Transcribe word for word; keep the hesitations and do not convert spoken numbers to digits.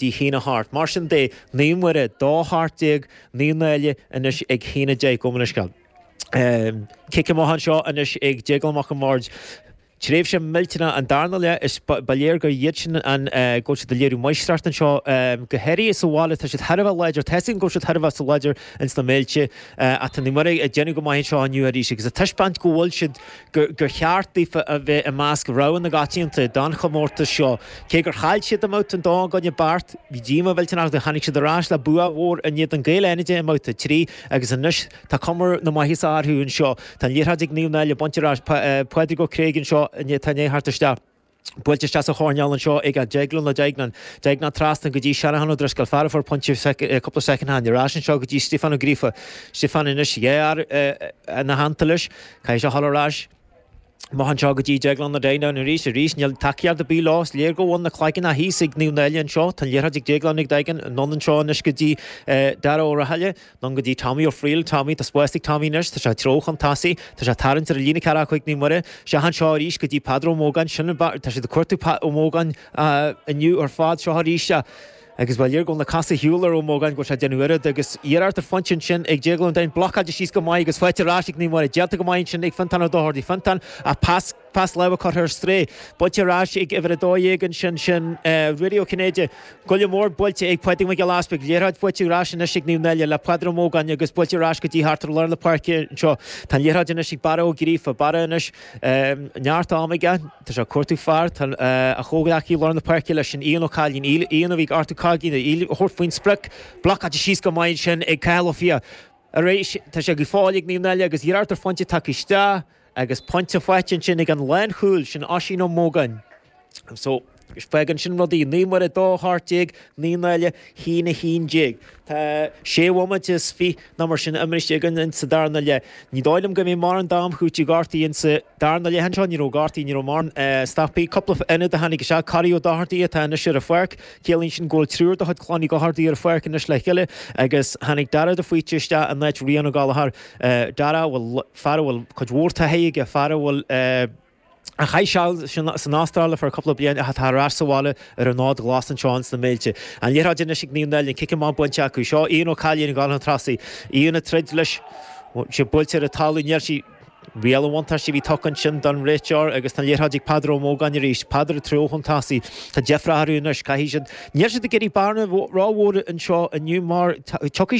dtí haon a hocht. Mar sin de, Naomh Muire, dó hocht déag, Naomh Náille anois ag haon a deich. Gabh mo leithscéal. Cic amach anseo anois ag Déaglán Mac an Bhaird. Tréimhse millteanach an darna leath is ba léir gur iad sin an go bhfuil siad ag léiriú máistreacht anseo go háirithe sa bhaile tá siad thar a bheith láidir tá a fhios againn go bhfuil siad thar a bheith sa láidir ins na Méilte ach tá Naomh Muire ag déanamh go maith anseo inniu arís agus ag taispeáint go bhfuil siad gur cheart daofa a bheith i measc rogha na gcoitianta don chomórtas seo. Cé gur chaill siad i mbabhta a dó i gcoinne Beart, bhí díoma mhillteanach orthu, tháinig siad ar ais le bua mhór in éadan Gaeil Fhánaide i mbabhta trí agus anois tá cuma na maitheasa orthu anseo. Tá an liathróid ag Naomh Náille bainte ar ais Pádraig Ó Creag anseo atá i ndiaidh theacht isteach. Buailte isteach sa choirnéal anseo ag Déaglán Ó Duigneáin. Duigneán trasna go dtí Seanachán Ó Drisceoil, fear a fuair pointe cúpla soicind ó shin. Ar ais anseo go dtí Stiofán Ó Gríofa. Stiofán anois dhá fhear ina theannta leis. Caithfidh sé a dhul ar ais. Amach anseo go dtí Déaglán Ó Duigneáin arís. Arís níl tacaíocht ar bith leo. Is léir go bhfuil na cloigeanna thíos ag Naomh Náille anseo. Tá an liathróid ag Déaglán Ó Duigneáin. Anonn anseo anois go dtí Dara Ó Rathaille. Anonn go dtí Tommy Ó Frighil. Tommy, tá spás ag Tommy anois. Tá sé ag treabhadh chun tosaigh. Tá sé ag tarraingt ar an líne ceathracha cúig Naomh Muire. Isteach anseo arís go dtí Peadar Ó Mógáin. Sin an tá siad ag cuartú Ó Mógáin inniu ar fad. Seo arís é. Agus ba léir go bhfuil na cosa ar shiúl ar Ó Mógáin go bhfuil sé ag déanamh oiread agus iarracht ar phointe ansin ag Déaglán Ó Duinn. Blocáilte síos go maith agus faighte ar ais ag Naomh Muire. Déanta go maith ansin ag Fiontán Ó Dochartaigh. Fiontán ach pas pas láimhe curtha ar strae. Buailte ar ais ag uimhir a dó dhéag ansin sin Ruairí Ó Cinnéide. Goille mór buailte ag Pádraig Mac Giolla Easpaig. Liathróid faighte ar ais anois ag Naomh Náille le Peadar Ó Mógáin agus buailte ar ais go dtí thart ar lár na páirce anseo. Tá an liathróid anois ag Barra Ó Gríofa. Barra anois neart ama aige. Tá sé ag cuartú fear. Tá a chomhghleacaí lár na páirce leis sin Ian Ó Cailín. Ian a bhí ag Artú Caigín a thabhairt faoin sprioc. Blocáilte síos go maith ansin ag Cathal Ó Fiaich. Arís tá sé go fóill ag Naomh Náille agus iarracht ar phointe tagtha isteach agus pointe faighte ansin ag an lánchúl sin Oisín Ó Mógáin. So fágann sin rudaí Naomh Muire dó hocht déag, Naomh Náille haon a haon déag. Tá sé bhomaite is fiche nó mar sin imeartha againn sa darna leath. Ní dóigh liom go mbeidh mórán d'am chúitigh gortaí insa darna leath anseo, ní raibh gortaí, ní raibh mórán stopaí. Cúpla ionad a tháinig isteach, Corey Ó Dochartaigh atá anois ar an pháirc. Ciallaíonn sin go bhfuil triúr de chuid Clann Uí Dhochartaigh ar an pháirc anois le chéile agus tháinig Dara de Faoite isteach in áit Rian Ó Gallchóir. Dara a bhfuil fear a bhfuil cuid mhór taithí aige, fear a bhfuil a chaith seal san Astráil ar feadh cúpla bliain ach atá ar ais sa bhaile ar an fhód ghlas anseo ins na Méilte. An liathróid anois ag Naomh Náille, an cic amach bainte acu. Seo Ian Ó Cailín ag dul chun tosaigh. Ian ag troid leis, sé buailte ar an talamh, níl sí riail an bhuntáiste a bhí tugtha ansin don réiteoir agus tá an liathróid ag Peadar Ó Mógáin arís. Peadar ag treabhadh chun tosaigh. Tá deifre orthu anois, caithfidh siad. Níl siad ag iarraidh bearna rómhór anseo inniu mar tiocfaidh